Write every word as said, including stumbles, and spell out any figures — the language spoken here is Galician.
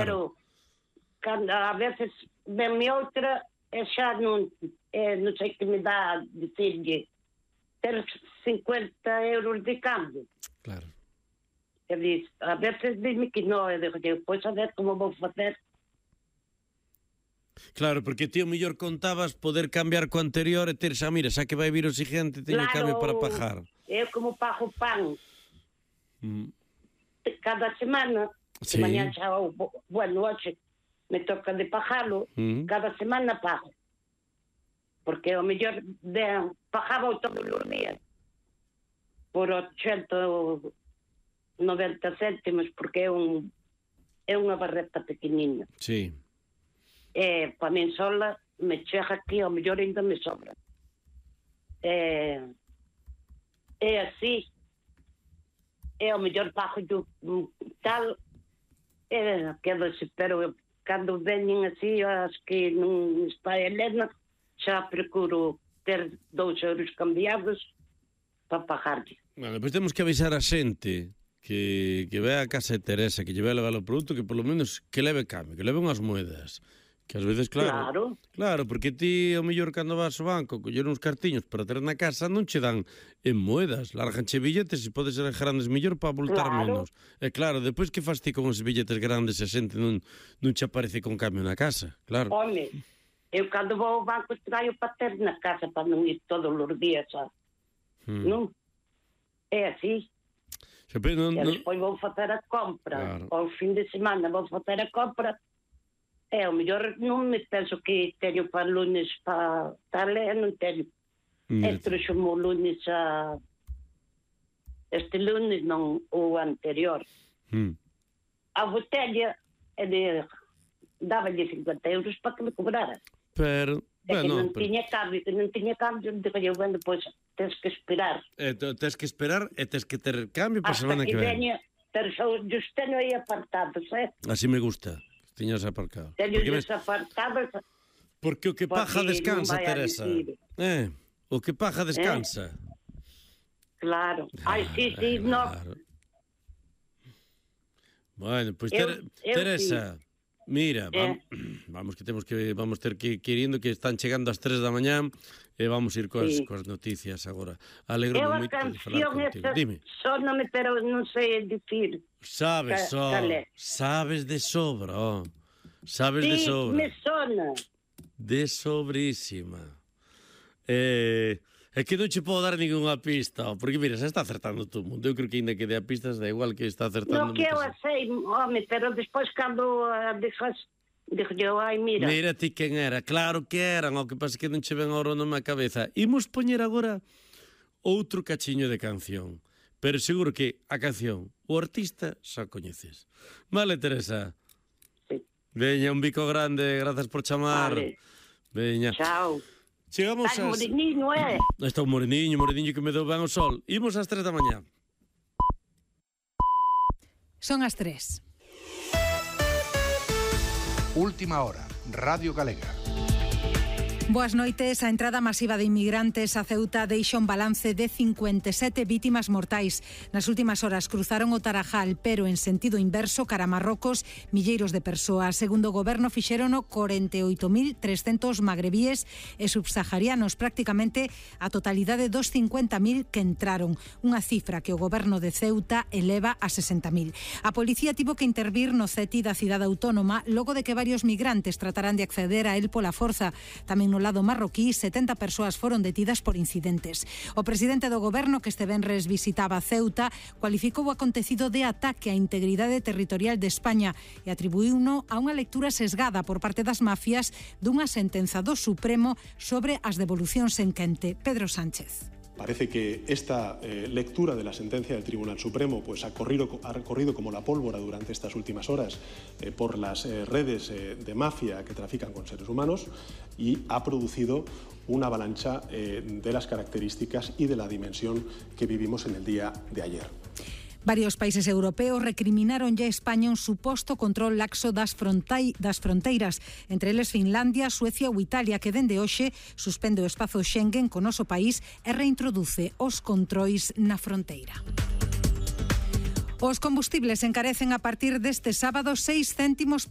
pero cando a veces venme outra e xa non, eh, non sei que me dá dicirlle ter cincuenta euros de cambio. Claro. E diz, a veces dime que non, e digo, pois a ver como vou facer. Claro, porque ti o mellor contabas poder cambiar co anterior e ter xa, mira, xa que vai vir o siguiente, teño claro, cambio para pagar. Eu como pago pan Mm. cada semana, Sí. de mañá xa, bueno, hoxe me toca de pagalo, Mm. cada semana pago. Porque o mellor de, pagaba todos os días por ochenta noventa céntimos, porque é un é unha barreta pequeniña. Sí. E para min sola me chega aquí, ao mellor ainda me sobra. É, é así. É ao mellor pago yo tal, é que desespero. Cando veñen así, as que non está Helena, xa procuro ter dous euros cambiados para pagarlle. Bueno, pois temos que avisar a xente que, que ve a casa de Teresa, que lle vai levar o produto, que polo menos que leve cambio, que leve unhas moedas. Que ás veces, claro, Claro. claro, porque ti, ao mellor, cando vas ao banco, coller uns cartiños para ter na casa, non che dan en moedas, larganche billetes e pode ser grandes mellor para voltar Claro. menos. E claro, depois que fas ti con os billetes grandes e a xente non, non che aparece con cambio na casa, claro. Home, eu cando vou ao banco traio para ter na casa para non ir todos os días, xa. Hmm. Non? É así. Xa, pero non, E non... despois vou facer a compra. Claro. Ao fin de semana vou facer a compra. E ao mellor non me penso que teño para lunes para tal, e non teño. E trouxo-mo lunes a... Este lunes non o anterior. Hmm. A botella é de... Dáballe cincuenta euros para que me cobrara. Pero, É que bueno, non pero... tiña cambio, que non tiña cambio, digo eu, bueno, pois tens que esperar. Eh, tens que esperar e tens que ter cambio para a Hasta semana que que ven. veña, pero xa os teño aí apartados, eh? Así me gusta, que tiñas aparcado. Teño Porque, os ves, apartados. porque o que porque paja descansa, non vai a Teresa. dicir. Eh, o que paja descansa. Claro. Ai, sí, sí, no. Claro. Bueno, pois Eu- Ter- eu Teresa, mira, Eh. vam- vamos que temos que vamos ter que que ir indo, que están chegando as tres da mañá e vamos ir coas, Sí. coas noticias agora. Eu Alegro-me a moito de falar canción contigo. esta Dime. soname, pero non sei dicir. Sabes, Ca- só, cal é? sabes de sobra, oh. Sabes de Sí, sobra. me sona. De sobrísima. Eh, é que non che podo dar ningunha pista, oh, porque mira, se está acertando todo o mundo. Eu creo que ainda que dé a pistas da igual que está acertando. No que eu moita a sei, home, pero despois cando a deixas, digo eu, ai, mira. Mira ti quen era, claro que eran, o que pasa que non che ven oro nome a cabeza. Imos poñer agora outro cachiño de canción, pero seguro que a canción, o artista, xa coñeces. Vale, Teresa? Sí. Veña, un bico grande, grazas por chamar. Vale. Veña. Chao. Chegamos Ai, ás... moreniño, eh? Está un moreniño, moreniño que me deu ben o sol. Imos ás tres da mañá. Son as tres. Última hora, Radio Galega. Boas noites. A entrada masiva de inmigrantes a Ceuta deixa un balance de cincuenta e sete vítimas mortais. Nas últimas horas cruzaron o Tarajal, pero en sentido inverso cara a Marrocos, milleiros de persoas. Segundo o goberno, fixérono corenta e oito mil trescentos magrebíes e subsaharianos, prácticamente a totalidade dos cincuenta mil que entraron. Unha cifra que o goberno de Ceuta eleva a sesenta mil. A policía tivo que intervir no C E T I da cidade autónoma logo de que varios migrantes tratarán de acceder a el pola forza. Tamén no lado marroquí, setenta persoas foron detidas por incidentes. O presidente do goberno, que este venres visitaba Ceuta, cualificou o acontecido de ataque á integridade territorial de España e atribuíuno a unha lectura sesgada por parte das mafias dunha sentenza do Supremo sobre as devolucións en quente. Pedro Sánchez. Parece que esta eh, lectura de la sentencia del Tribunal Supremo pues, ha, corrido, ha corrido como la pólvora durante estas últimas horas eh, por las eh, redes eh, de mafia que trafican con seres humanos y ha producido una avalancha eh, de las características y de la dimensión que vivimos en el día de ayer. Varios países europeos recriminaron ya a España un suposto control laxo das, frontai, das fronteiras, entre eles Finlandia, Suecia ou Italia, que dende hoxe suspende o espazo Schengen con noso país e reintroduce os controis na fronteira. Os combustibles encarecen a partir deste sábado seis céntimos por